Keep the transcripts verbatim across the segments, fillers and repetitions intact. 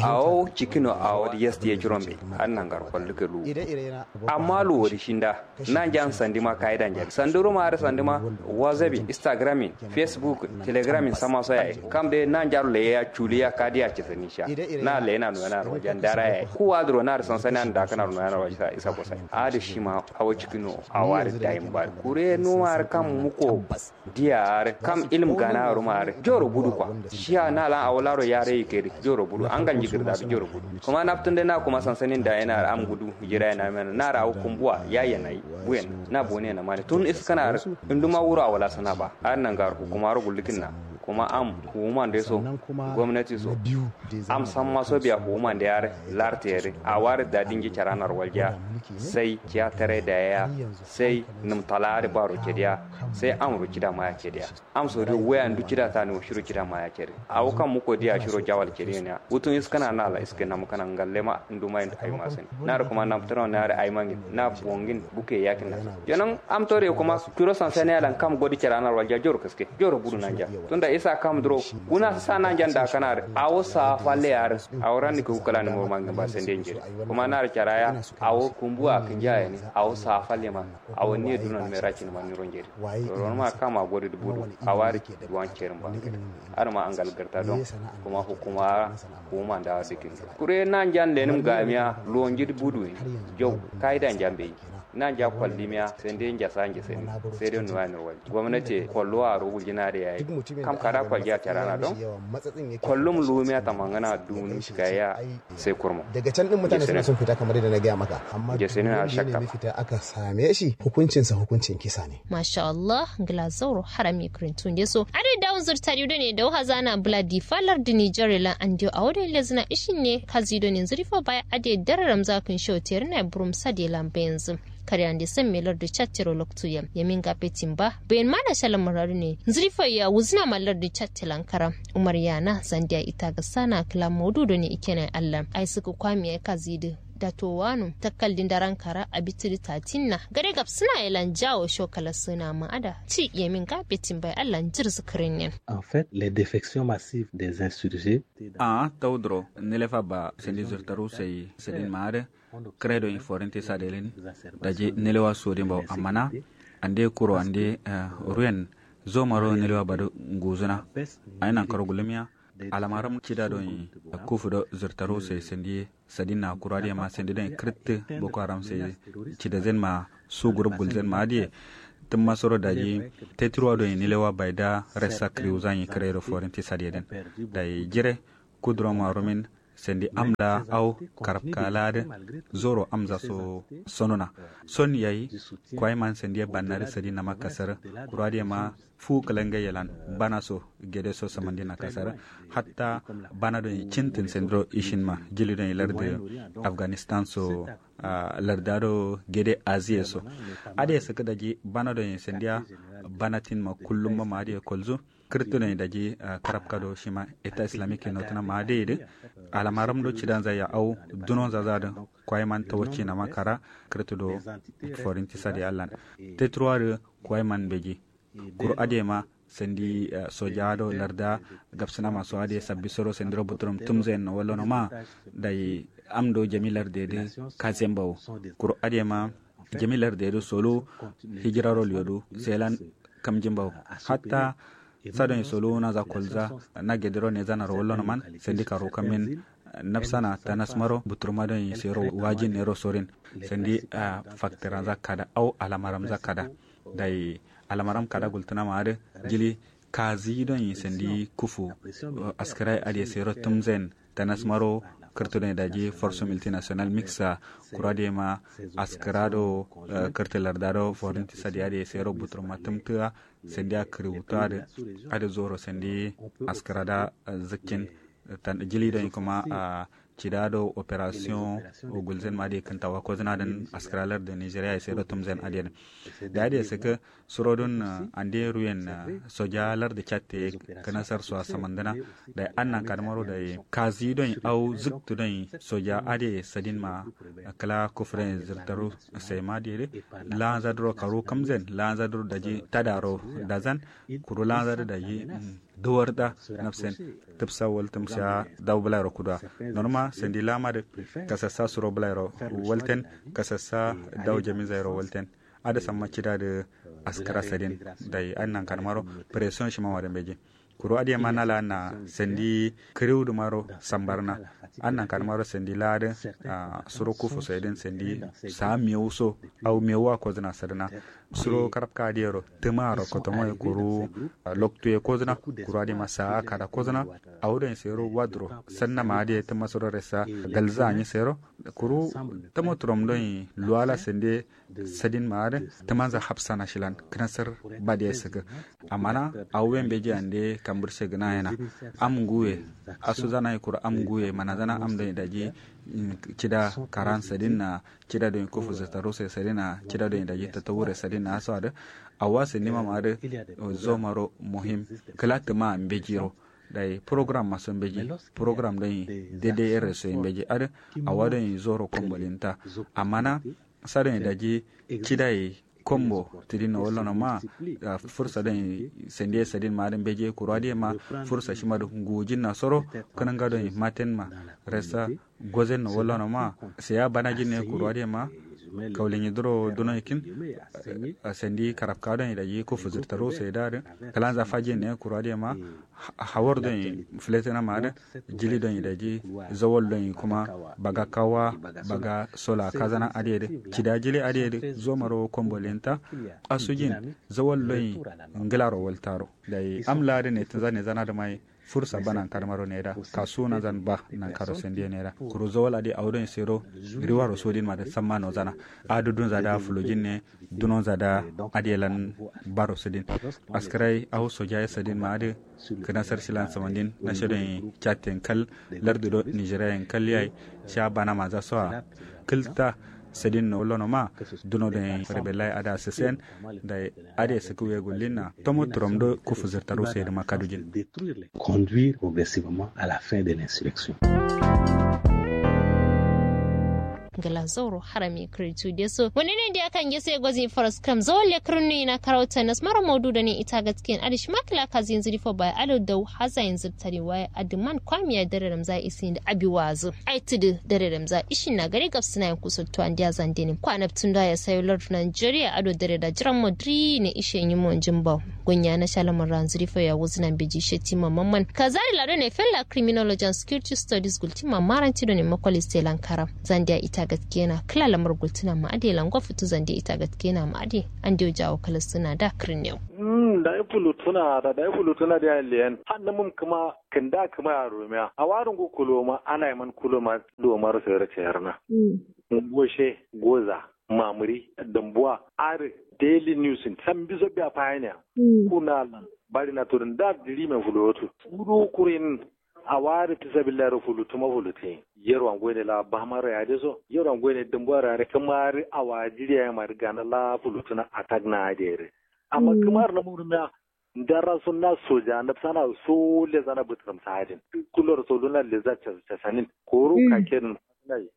Awo cikkino awo dǝ yestiye curon be. Adǝ nangaro kollu ke luwu. Amma luwo dǝ shinda. Nanjan sandima kayidanjan sanduruma adǝ sandima. WhatsApp in Instagram in Facebook in Telegram in samma so yayi kam de nanjaro leyeya culiya kadiya cǝsǝni sha. Na leyena noyena ro wajan dara yayi kuwa dǝro na dǝ sansani an dakana ro noyena ro isa kosai adǝ shima. Awo cikkino awo adǝ dayin ba kure numa adǝ kam muko. Diya arǝ kam ilmu gana aruma arǝ joro budu kwa. Shiya na lan awo laro yare yike dǝ joro budu angal njigir da dǝ joro budu. Kuma naftun dai na kuma sansanin da yana arǝ am gudu jira yana mena na arǝ awo kumbuwa ya yana yi. Buyen na bone na mani tun iskana arǝ. Induma wuro awo la sana ba arǝ nanga arǝ hukuma ro gullukin na. Kuma am hukuman dai so gomnati so. Am samma so biya hukuman dai arǝ larte arǝ awo arǝ da dinji caranar waljiya. Sai ciya tare da yaya. Sai nǝm tala adǝ baro cediya. Sai amro cida maya cediya. Amso dǝ waya ndu cida tani wo shiro cida maya cedi. Awo kam muko diya shiro jawal cedi niya wutun iskana na la iske nam kana ngalle ma ndu ma yin ayi masin. Na dǝ kuma nam tǝno na dǝ ayi mangin na bongin buke yakin na. Yonan am tore kuma kuro sansani alan kam godi cida na walja joro kaske joro budu nanja. Tunda isa kam duro wuna sa nanjan da kana dǝ awo sa falle ya dǝ. Awo ranni ku kala ni mo mangin ba sende njiri. Kuma na dǝ caraya awo kumbuwa kinja yani. Awo sa falle ma. Awo ni dunon me rakin ma ni ronjeri. Ronma kama godi budu awari. Duwan cerin ba. Arma angal garta don. Kuma hukuma hukuma da dikin. Kure nan jan lenim gamiya lonjir budu. Jau kaida njambe. Nan ja kwallimiya sende njasa nje sende. Sede nuwa nirwal gomnati kollo aro wuljina de yayi. Kam kada kwalja carana don. Kollum lumiya tamangana duni shikaya. Sai kurmo. Daga can din mutane suna son fita kamar yadda na gaya maka, amma je sai na shakka. Fita aka same shi hukuncinsa hukuncin kisa ne. Masha Allah. Ngla zauro harami krintunde so ade dawo zurtari done dawo hazana bla difa lardi nijar lan andiyo awo done lezna ishin ne kazi done nzuri fo baya ade dararam zakin show terina burum sade lan bayanzu. Kare ande san me lardi chattero loktu yam yamin gabe timba bayan mana shalan muradu ne nzuri fo ya wuzna ma lardi chatte lan karam. Umar yana zandiya ita ga sana kla modu done ikena allan ai suku kwami ai kazi de. Dato wano takkal dindaran kara abitiri tatinna gare gabsina yalan jawo shokala suna ma'ada ci yamin ga betin bai allan jir zikirin nin. En fait, les défections massives des insurgés. A taudro nilefa ba sindi zurtaru sai sidin ma'ada. Kredo inforinti sadelin daji nilewa sodin ba amana. Ande kuro ande ruyen zomaro nilewa badu nguzuna. Ainan karo gulumiya. Alamaram cida don kufu do zurtaru sai sindi sadinna kura diya ma sende don kǝrǝttǝ boko haram sai cida zen ma su gurup gulzen ma adiye. Tǝmma soro daji tetirwa don nilewa baida resa kǝriwuzan yi kǝrero forinti sadiye den. Dayi jire kuduro ma rumin sende amla au karabka ladi. Zoro amza so sonona son yayi. Kwai man sende bannari sadinna ma kasarǝ kura diya ma fu kǝlangai yelan bana so gede so samandina kasarǝ. Hatta bana don cintǝn sendiro ishinma jili don lardi afganistan so larda do gede aziye so. Ade sǝkǝ daji bana don sendiya bana tinma kullum ma adiye kolzu. Kǝrtǝ don daji karabka do shima eta islamik notuna ma adiye dǝ alamaram do cidanza ya au dunonza za dǝ kwai man tawacci nama kara. Kǝrtǝ do forinti sadi allan teturwa dǝ kwai man beji. Kuru adema sandi soja do larda gabsǝnama so ade sabbi soro sandiro buturum tumzen no wallono ma. Dai amdo jami lardedǝ kazen bawo. Kuru adema jami lardedǝ solo hijiraro liyodu selan kamjin bawo. Hatta sadon solo naza kolza na gedero nezanaro wallono man sandi karo kamin nafsana tanasmaro buturma don sero wajin nero sorin. Sandi faktiranza kada au alamaramza kada. Dai alamaram kada gultǝna ma adǝ jili kazi don sandi kufu askǝrai adǝ sero tǝmzen tanasmaro kǝrtǝ don daji force multinational mixa. Kura dema askǝra do kǝrtǝ larda do forinti sadi adǝ sero buturma tǝmtǝa. Sandi a kǝriwutu adǝ adǝ zoro sandi askǝra da zǝkkin. Jili don kuma cida do operation gulzen ma adǝ kǝntawa kozǝna dǝn askǝra lardǝ nigeria ye sero tǝmzen adǝ dǝn. Da adǝ sǝkǝ suro dun ande ruyen soja lardǝ catte kǝnasar so a samandǝna. Dai annan kadǝmaro dai kazi don au zǝktǝ don soja adǝ sadin ma kǝla kufren zǝrtaru sai ma adǝ dǝ lanza duro karu kamzen lanza duro daji tadaro dazan kuru lanza duro daji Duwar da nafsen tǝbsa waltǝm sha daw bǝlairo kuduwa. Nonuma sandi lama dǝ kasassa suro bǝlairo walten, kasassa daw jaminzairo walten. Adǝ samma cida dǝ askǝra sadin. Dai adǝ nankanumaro pression shima ma dǝ mbeji. Kuru adǝ yema nala na sandi kǝriwu dǝmaro sambarna. Adǝ nankanumaro sandi la dǝ suro kufu so ye dǝn sandi sa mewu so au mewu wa kozǝna sadǝna. Suro karabka adǝ yero tǝma aro kotomo ye kuru loktu ye kozǝna. Kuru adǝ yema sa kada kozǝna. Awo doi sero waduro sanna ma adǝ ye tǝma suro resa galza anyi sero. Kuru tǝmo turom doi luwala sande sadin ma adǝ tǝmanza hapsana shilan kǝnasar bade sǝgǝ. Amma na awo we mbeji ande kambǝrshe gǝna yena. Am nguwe asuzana ye kuru am nguwe manazana am doi daji. Cida karan sadin na cida doi kufu zǝtaru sai sadin na cida doi daji tatawure sadin na aso adǝ. Awa sandima ma adǝ zomaro muhim kǝla tǝma mbejiro. Dai program maso mbeji program doi dede ere so mbeji adǝ. Awa doi zoro kombolinta amma na sa doi daji cida ye kombo tidin no wallono ma. Fursa doi sande sadin ma adǝ mbeji kuru adǝ yema fursa shima dǝ ngujin na soro kǝnanga doi maten ma resa gozen no wallono ma. Sai ya bana jin ne kuru adǝ yema kaulin yiduro duno ikin sandi karabka doi daji kufu zǝrtaru sai da adǝ kǝlanza fajin ne kuru adǝ yema. Hawar doi filetina ma adǝ jili doi daji zawal doi kuma baga kawa baga sola kazana adǝ yedǝ cida jili adǝ yedǝ zomaro kombolinta. Asujin zawal doi ngǝlaro waltaro dai am la adǝ ne tǝnza ne zana dǝ mai. Fursa ba nankarmaro neda kasu nazan ba nankaro sandiye neda kuru zawal adǝ awo doi sero riwaro sodin ma dǝ samma nozana. Adǝ dunza da fulojin ne dunonza da adǝ yelan baro sǝdin. Askǝrai awo sojaye sǝdin ma adǝ kǝnasar shilan samandin nashe doi chatten kal lardu do nigeria yen kal yayi. Sha bana maza soa kǝlta sadin no lono ma duno doi rebellai ada sǝsen. Dai ade sǝkǝ we gullin na tomo turom do kufu zǝrtaru sai dǝ ma kadujin. Conduire progressivement à la fin de l'insurrection. Ngla zauro harami kǝrǝtu deso wani ne diya kan gese gozi faras kram zawalle kǝrǝnu ina karauta nasmaro maudu done ita gatken adǝ shima kǝla kazi yanzu difo baya adǝ dau haza yanzu tari waye adǝ man kwamiya dare ramza isin da abi wazu ai tudu dare ramza ishin na gare gabsina yan kuso to andiya zande ne kwanabtun da ya sayo lardu nigeria ado dare da jiran madri ne ishe yi monjin bawo. Gunya na shalamar ranzu difo ya wuzu nan beji shetima mamman kazari lado ne fella criminology and security studies gultima maranti done makwali selan karam. Zandiya ita gaskena kǝla lamar gultuna ma ade lango futu zandiya ita gaskena ma ade. Andew jawo kalastuna da kǝrnew. Dai fulutuna da dai fulutuna da yan leyan hannumum kǝma kǝnda kǝma ya rumiya awarungu kuloma ana yaman kuloma lomaro sayar cayarna. Ngoshe goza mamuri dambuwa adǝ daily news in sambiso biya fayaniya. Kuna lan bari na turin da diri mai fulotu suru kurin. Awa adǝ fisabilillahi ro fulutuma fulutin yerwa ngoyine la bamaro yade so yerwa ngoyine dambuwa ro yade kǝma adǝ awa jiriya yema adǝ gana la fulutuna attack na adǝ yare. Amma kǝma adǝ namuru miya ndara so na soja nabsana so lezana bǝtǝrǝm sa'adin. Kulor so luna leza casanin koro kakedin.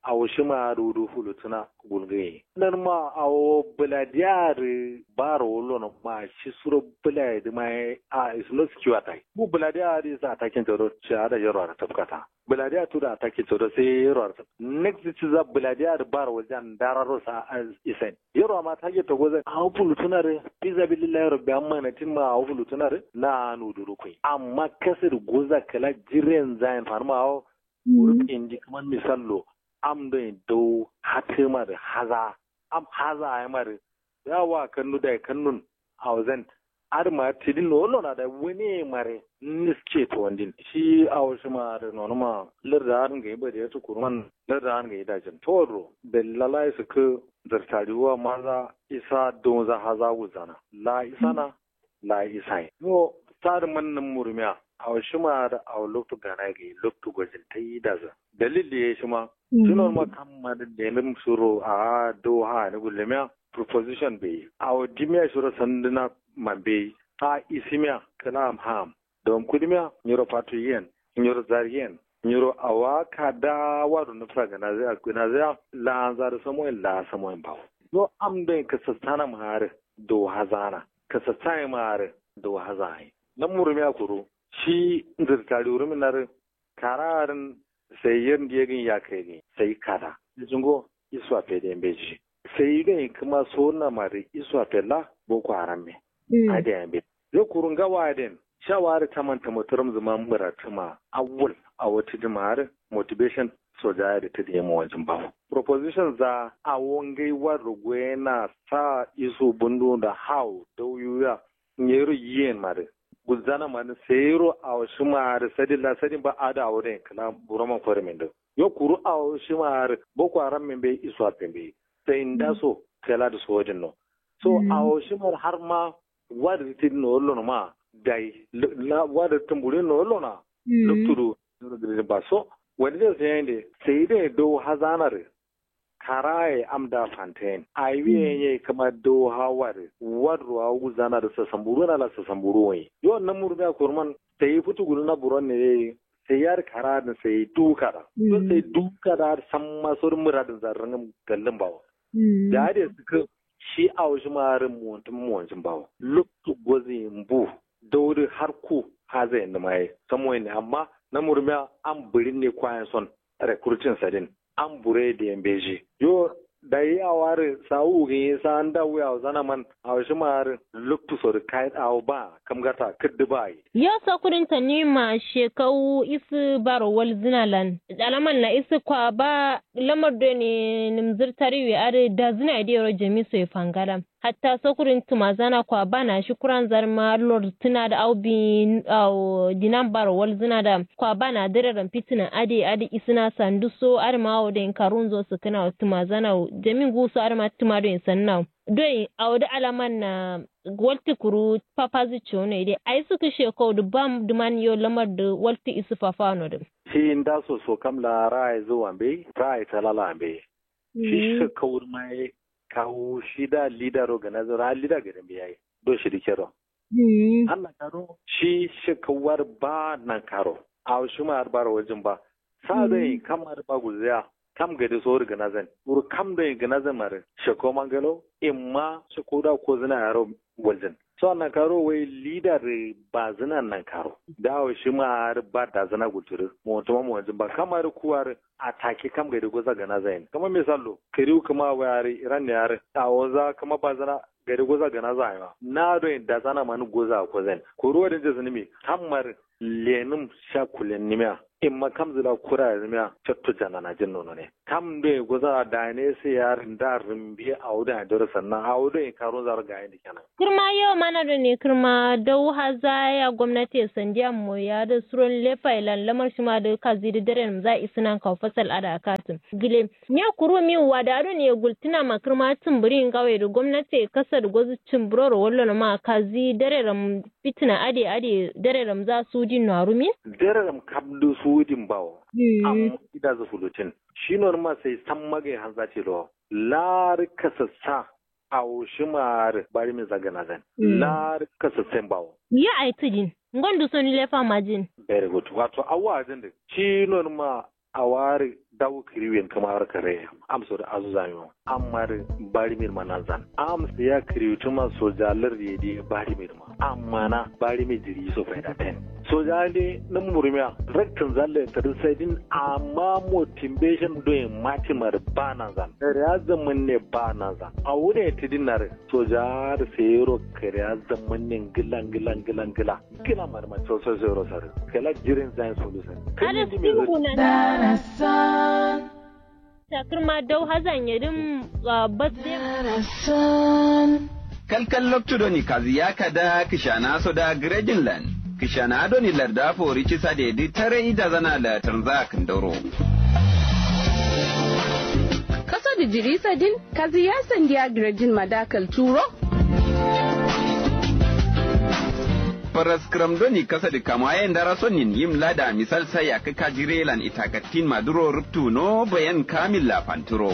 Awo shima adǝ wudu fulutuna gulgǝye nanma awo bǝladiya adǝ baro wullono ma shi suro bǝlaye dǝma ye a is not secure attack bu bǝladiya adǝ is attacking todo shi ada yerwa adǝ tafkata. Bǝladiya tudu attacking todo sai yerwa adǝ tafkata next ciza bǝladiya adǝ baro wulja ndararo sa isain yerwa ma target to gozan awo fulutuna dǝ fisabilillahi rabbi amma natin ma awo fulutuna dǝ na nudu rukui amma kasu dǝ goza kǝla jiren zayin fanuma awo. Kuru indi kǝman misallo am doi dau hatǝma dǝ haza am haza ayi ma dǝ yawa kannu dai kannun. Awo zan adǝ ma tidin no wallo na dai wane mare niske to wandin shi awo shima adǝ nonuma larda adǝ ngai bade yatu kuruman larda adǝ ngai dajin to wadro dallala isǝkǝ zartari wa maza isa daunza haza wuzana la isana. La isaye yo sadǝ mannǝm murumiya awo shima adǝ awo loktu gana gai loktu gojin taidazǝ dalil ye shima. Shi nonuma kamma dǝ lenǝm suro a'a do ha'ani gullemiya proposition beyi awo dimiya shiro sandǝna mambeyi. A isimiya kǝla am ha'am dawam kudimiya nyiro fatu yiyen nyiro zari yen nyiro awa kada wado nǝfsa gǝnaziya gǝnaziya la'anza dǝ samoyin la samoyin bawo. Yo am doi kǝsassanam ha'arǝ do hazana kǝsassayin ma ha'arǝ do hazana ye. Nammurumiya kuru Shi nzǝrtari wurǝmin adǝ kara adǝn sai yer ndiye gǝn yakai gǝn sai kada. Jingo isuwa fede mbeji sai dai kǝma sowonama dǝ isuwa fella boko haram me. Adǝ yayi mbeji yo kuru ngawo adǝ yen. Sha wa adǝ taman tǝmaturam zǝma mǝratǝma awwal awo tǝdǝma adǝ motivation soja adǝ tǝdǝ yema wanjin bawo proposition za. Awo ngai wadǝ rogoyena sa isu bundu nda hawo dau yuya nyero yiyen madǝ gulzana madǝ sayiro awo shima adǝ sadin la sadin ba adǝ awo dai kǝla buroman korimin dǝ. Yo kuru awo shima adǝ boko haram min bai isuwa fen bai sai nda so kela dǝ sojin no. So awo shima adǝ har ma wadǝ dǝ tidin no wallo no ma dai wadǝ dǝ tǝmburin no wallo na loktu dǝ. Ba so wani dai sai yande sai dai dau hazana dǝ karaye am da fanten awiye ye kǝma do hawa dǝ warro awu gulzana dǝ sasamburu na la sasamburu wai yo namuru miya kuruman. Sai futu guluna buron ne ye sai yar kara dǝ sai du kada yo sai du kada samma sor muradin zarrangam gallin bawo. Da ade sukǝ shi awo shima adǝ muwontin muwontin bawo loktu gozi mbu. Dau dǝ har ku haza yandǝma ye samoyin ne amma namuru miya am bǝrin ne kwayen son recruiting sadin. Am bure diye mbeji yo dai awo adǝ sawu gǝnyi sa nda wuya awo zana man awo shima adǝ loktu so dǝ kayit awo ba kamgata kǝddu ba ye. Yo sokudin tanima shekau isǝ baro walzǝna lan alaman na isǝ kwa ba lamar done nǝmzǝr tariwe adǝ dazǝna ye diyero jami so ye fangalam. Hatta sokurin tǝmazana kwa bana shi kuranzan ma lortǝna dǝ au bi au dinan baro walzǝna dǝ kwa bana dǝreram fitǝna adǝ ye adǝ isǝna sandu so adǝ ma awo doi karunzo sǝkkǝna wo tǝmazana wo jami nguwu so adǝ ma tǝma doi sanna wo doi awo dǝ alaman na. Waltǝ kuru papazǝ ciwo no ye dai ayi sǝkkǝ shekau dǝ bam dǝman yo lamar dǝ waltǝ isǝ fafawa no dǝ. Shi nda so so kam la ra'ayi zǝ wa mbeyi ra'ayi talala mbeyi. Shi shekau dǝ ma ye kawu shi da lida ro gana zǝ ra lida gade mbeyi yayi do shi dǝ kero. Har nankaro shi shekau adǝ ba nankaro awo shima adǝ baro wajin ba. Sa doi kam adǝ ba gulzǝya kam gade so dǝ gana zan kuru kam doi gana zan ma dǝ shekau mangalo imma shekau da kozǝna yaro. Waljin so nankaro wai lida dǝ bazǝna nankaro da awo shima adǝ ba dazǝna gultu dǝ mowontuma mowonjin ba kam adǝ ku adǝ atake kam gade goza gana zayin kǝma misallo kǝriwu kǝma wai adǝ iran ne adǝ awo za kǝma bazǝna gade goza gana zayin ma na doi dazana ma nǝ goza a kozayin kuru wadǝ njǝ sǝnǝmi kam adǝ lenǝm sha kulennimiya imma kamzǝ la kura yadǝmiya cotto jananajin nono ne. Kam doi goza dane sai yar nda rǝmbe awo doi andero sanna awo doi karunza ro gayin dǝ kenan. Kǝrma yo mana done kǝrma dau haza ya gomnati ye sandiya moya dǝ suron lefa ye lan lamar shima dǝ kazi dǝ dare nǝmza isǝnan kawu fasal adǝ akatǝ gǝle. Nya kuru miwu wada done gultǝna ma kǝrma tǝmbǝri ngawe dǝ gomnati ye kasa dǝ gozǝ cǝmbǝro ro wallo noma kazi dare ram fitǝna adǝ ye adǝ ye dare ramza sudin no arumin. Dare ram kam dǝ sudin bawo. Amma idazǝ fulutin shi nonuma sai samma gai hanza tilo. Larǝ kasassa awo shima arǝ barimin za gǝnazan. Larǝ kasassain bawo. Yo ayi tǝdin ngondu so nile fama jin. Very good wato awo adǝn dǝ shi nonuma awo arǝ dawu kǝriwuyen kǝma arǝ kare. Amso dǝ azu zamiwo amma dǝ barimin ma nanzan. Amsǝ ya kǝriwutǝma soja lardǝ ye dǝ ye barimin ma amma na barimi jiri so faida ten. Soja nde nǝm murmiya raktǝn zalle tadǝ saidin amma motivation doye matima dǝ ba nanzan kariya zaman ne ba nanzan. Awu ne tǝdin narǝ soja dǝ sayiro kariya zaman ne ngla ngla ngla ngla ngla ma dǝ ma soso sayiro sarǝ kala jirin zayin sulu sarǝ. Kǝlin dǝ me zǝ. Darasan. Takǝrma dau hazan yedǝm. Basde. Kalkal loktu doni kaziya kada kǝshana so da gǝrejin lan kǝshana doni larda fori cisa de dǝ tare idazana la tarza kǝndoro. Kaso dǝ jiri sadin kaziya sandiya gǝrejin ma da kalturo. Faraskǝram doni kasa dǝ kamaye ndara sonnin yim lada misal sai yakkǝ kajire lan itakattin maduro ruptu no bayan kamil la fanturo.